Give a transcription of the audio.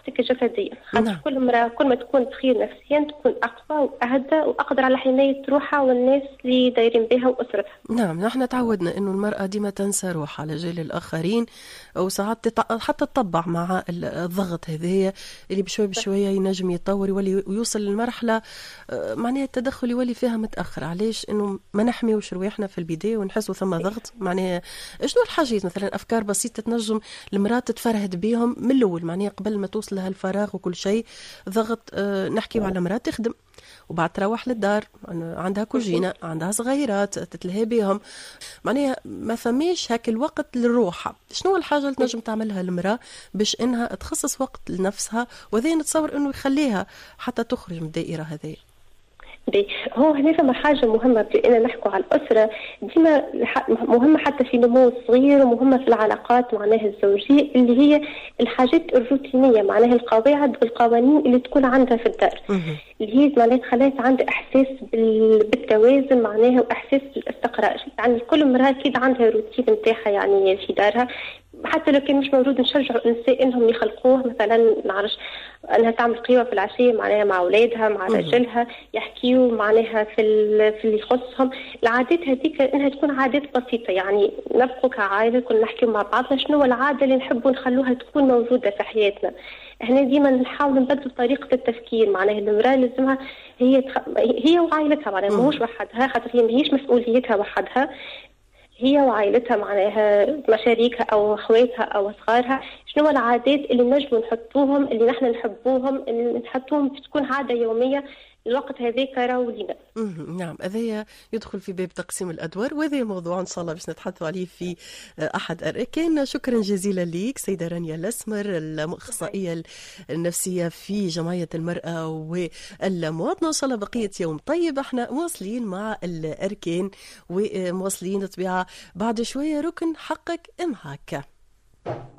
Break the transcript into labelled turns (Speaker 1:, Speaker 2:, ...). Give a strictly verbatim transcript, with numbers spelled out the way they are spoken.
Speaker 1: صحتك الجسدية. خاطر
Speaker 2: نعم.
Speaker 1: كل امراة كل ما تكون بخير نفسيا تكون اقوى واهدى واقدر على حماية روحها والناس اللي دايرين بها واسرتها.
Speaker 2: نعم، نحن تعودنا انه المراة ديما تنسى روحها على جال الاخرين، وساعات تتع... حتى تطبع مع الضغط هذايا اللي بشوي بشوية ينجم يتطور يولي ويوصل للمرحلة آه، معناها التدخل يولي فيها متاخر. علاش؟ انه ما نحميوش رواحنا في البداية ونحسوا ثم ضغط. معناها شنو الحاجات مثلا، افكار بسيطة تنجم المراة تتفرهد بهم من الاول، معناها قبل ما توصل لها الفراغ وكل شيء ضغط. آه، نحكيو على مراة تخدم وبعد تروح للدار، عندها كوجينة، عندها صغيرات تتلهي بهم، معناها ما فماش هاك الوقت للروحة. شنو الحاجة اللي تنجم تعملها المرأة باش انها تخصص وقت لنفسها، وهذا نتصور انه يخليها حتى تخرج من الدائرة هذه؟
Speaker 1: باهي، هو هنا فما حاجة مهمة، بما نحكوا على الأسرة ديما مهمة حتى في نمو الصغير ومهمة في العلاقات معناها الزوجية، اللي هي الحاجات الروتينية، معناها القواعد والقوانين اللي تكون عندها في الدار، اللي هي معناها تخليها عندها إحساس بالتوازن معناها وإحساس بالاستقرار. يعني كل امرأة أكيد عندها روتين نتاعها يعني في دارها، حتى لو كان مش موجود نشجعوا النساء انهم يخلقوه. مثلا نعرش انها تعمل قهوة في العشية معناها مع اولادها، مع رجلها، يحكيوا معناها في في اللي يخصهم. العادات هذيك انها تكون عادات بسيطه، يعني نبقوا كعائله كنا نحكيو مع بعضنا شنو العادة اللي نحبوا نخلوها تكون موجودة في حياتنا. هنا ديما نحاول نبدل طريقه التفكير، معناها المراة لازمها هي تخ... هي وعائلتها، معناها ماهوش وحدها، خاطر هي ماهيش مسؤوليتها وحدها، هي وعائلتها معناها مشاريكها او اخواتها او صغارها. شنو العادات اللي نجموا نحطوهم، اللي نحن نحبوهم، اللي نحطوهم تكون عادة يومية الوقت هذاك راهو لينا.
Speaker 2: نعم، هذايا يدخل في باب تقسيم الادوار، وهذا موضوع ان شاء الله باش نتحدثوا عليه في احد الاركان. شكرا جزيلا لك سيده رانيا الاسمر، الاخصائيه النفسية في جمعية المراة والمواطنه. ان شاء الله بقية يوم طيب. احنا مواصلين مع الاركان ومواصلين طبيعة بعد شوية ركن حقك معاك.